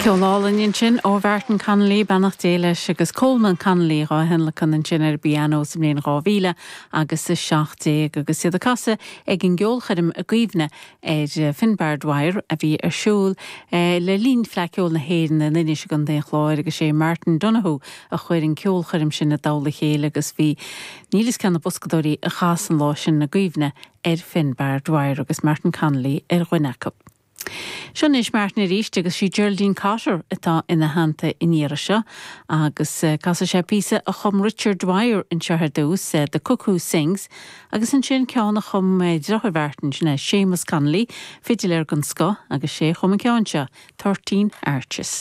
Ceol álainn ansin ó Mhartin Connolly, beannacht Dé leis, agus Colman Connolly dhá thionlacan ansin ar an bpianó sa mbliain 2000 agus 17 agus iad ag casadh ag an gceolchoirm i gcuimhne ar Finbarr Dwyer a bhí ar siúl le linn Fleadh Cheoil na hÉireann in Inis i gContae an Chláir agus sé Martin Donohoe a chuir an ceolchoirm sin i dtoll a chéile agus bhí níl 'fhios cé na boscadóirí a chas an lá sin i gcuimhne ar Finbarr Dwyer agus Martin Connolly ar dhuine acu. Seo anois Martin arís agus sí Geraldine Cotter atá ina theannta an iarraidh seo agus casfaidh sé píosa a chum Richard Dwyer anseo ar dtús, The Cuckoo Sings, agus ansin ceann a chum deartháir Mhartin, sin é Séamus Connolly, fidiléir den scoth agus sé a chum an ceann seo, 'Thirteen Arches'.